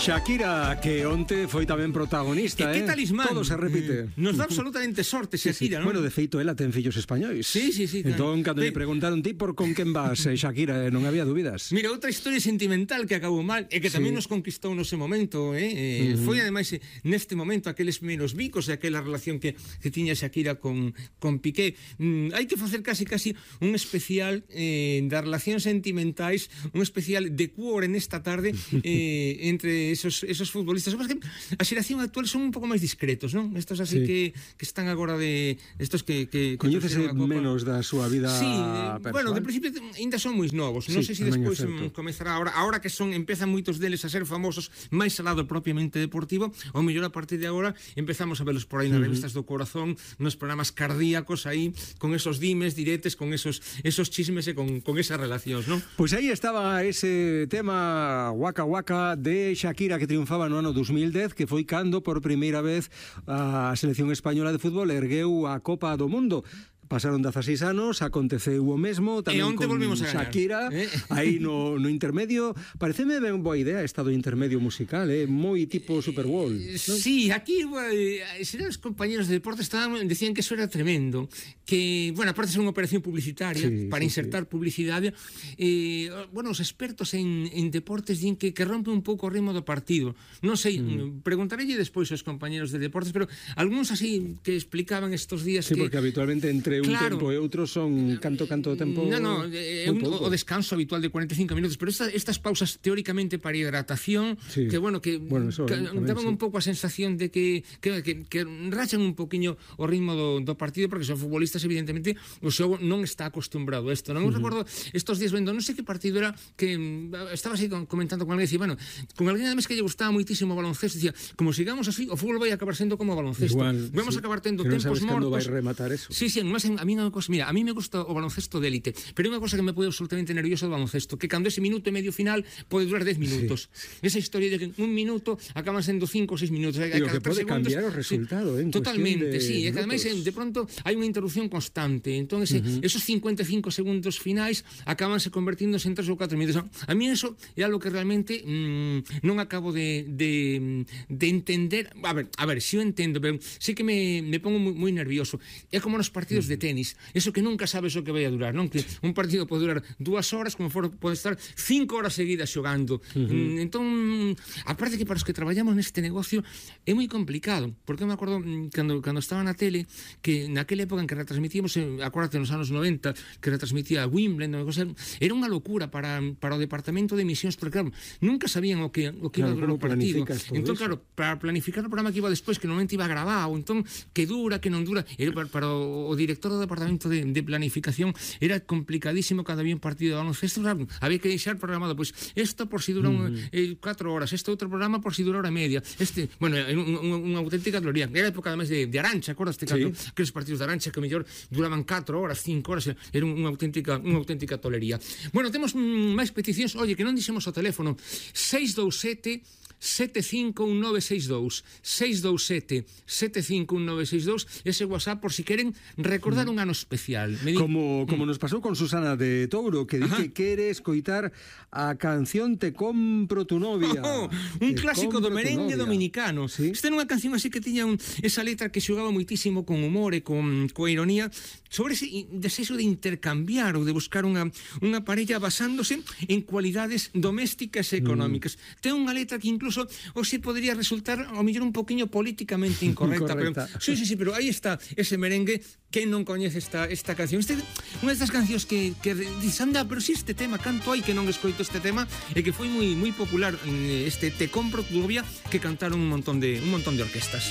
Shakira, que onte foi tamén protagonista, que talismán. Todo se repite. Nos dá absolutamente sorte Shakira, non? Bueno, de feito, ela ten fillos españois. Sí. Entón, cando me preguntaron ti por con quen vas, Shakira, non había dúbidas. Mira, outra historia sentimental que acabou mal e que tamén nos conquistou nese momento, foi ademais neste momento aqueles menos bicos e aquela relación que tiña Shakira con Piqué. Hai que facer casi un especial das relacións sentimentais, un especial de cuore nesta tarde entre esos futbolistas. Mas que a xeración actual son un pouco máis discretos, non? Estos así que están agora de estos que coñécese menos da súa vida personal. Bueno, de principio ainda son moi novos. Non sei se despois comezará ahora que empezan moitos deles a ser famosos máis ao lado propiamente deportivo, ou mellor a partir de agora empezamos a velos por aí nas revistas do corazón, nos programas cardíacos aí, con esos dimes, diretes, con esos chismes e con esas relacións, non? Pois aí estaba ese tema Waka Waka de Shakira que triunfaba no ano 2010, que foi cando por primeira vez a selección española de fútbol ergueu a Copa do Mundo. Pasaron 16 anos, aconteceu o mesmo tamén con Shakira aí no intermedio. Pareceme ben boa idea esta do intermedio musical, moi tipo Super Bowl, ¿no? Sí, aquí os compañeros de deportes decían que eso era tremendo, que, bueno, aparte de ser unha operación publicitaria para insertar publicidade, bueno, os expertos en deportes din que rompe un pouco o ritmo do partido. Non sei, preguntarelle despois aos compañeros de deportes, pero algúns así que explicaban estos días que... Sí, porque habitualmente entre un tempo e outro son canto tempo. No, o descanso habitual de 45 minutos, pero estas pausas teóricamente para hidratación, que daban un pouco a sensación de que rachan un poquinho o ritmo do partido, porque son futbolistas, evidentemente, o xogo non está acostumbrado a isto. Non recordo estos días vendo, non sei que partido era, que estaba así comentando con alguén, dicía, bueno, con alguén además que lle gustaba moitísimo o baloncesto, dicía, como sigamos así, o fútbol vai acabar sendo como o baloncesto. Vamos a acabar tendo tempos mortos. Vai rematar eso. Sí, a mí unha cosa, mira, a mí me gusta o baloncesto de élite, pero é unha cosa que me pode absolutamente nervioso do baloncesto, que cando ese minuto e medio final pode durar 10 minutos. Esa historia de que un minuto acaban sendo 5 ou 6 minutos. E o que pode cambiar o resultado, totalmente, sí, e que ademais de pronto hai unha interrupción constante, entón esos 55 segundos finais acabanse convertíndose en 3 ou 4 minutos. A mí eso é algo que realmente non acabo de entender. A ver, si eu entendo, pero sí que me pongo moi nervioso. É como nos partidos de tenis, eso que nunca sabes o que vai a durar, non? Que un partido pode durar 2 horas, como pode estar 5 horas seguidas xogando. Entón, aparte que para os que traballamos neste negocio é moi complicado, porque eu me acordo cando estaba na tele, que naquela época en que retransmitíamos, acuérdate nos anos 90, que retransmitía Wimbledon, era unha locura para o departamento de emisións, porque claro, nunca sabían o que iba a durar o partido. Entón, claro, para planificar o programa que iba despois, que normalmente iba grabado, entón, que dura, que non dura, era para o director do departamento de planificación era complicadísimo cando había un partido de baloncesto, había que deixar programado, pois, isto por si dura 4 horas, este outro programa por si dura hora e media, bueno, unha auténtica gloria. Era a época además de Arancha, acordaste cando aqueles partidos de Arancha que mellor duraban 4 horas, 5 horas, era unha auténtica tolería. Bueno, temos máis peticións, oye, que non dixemos o teléfono, 627-751962 627-751962, ese WhatsApp por si queren recordar un ano especial. Como nos pasou con Susana de Touro, que di que quere escoitar a canción Te compro tu novia. Un clásico do merengue dominicano. Esta era unha canción así que tiña esa letra que xogaba moitísimo con humor e coa ironía sobre ese desexo de intercambiar ou de buscar unha parella basándose en cualidades domésticas e económicas. Ten unha letra que incluso se podría resultar ao mellor un poquinho políticamente incorrecta. Pero, sí, pero aí está ese merengue. Quen non coñece esta canción? Unha destas cancións que dices, anda, pero si este tema, canto hai que non escoito este tema, e que foi moi popular, este Te compro tu novia, que cantaron un montón de orquestas.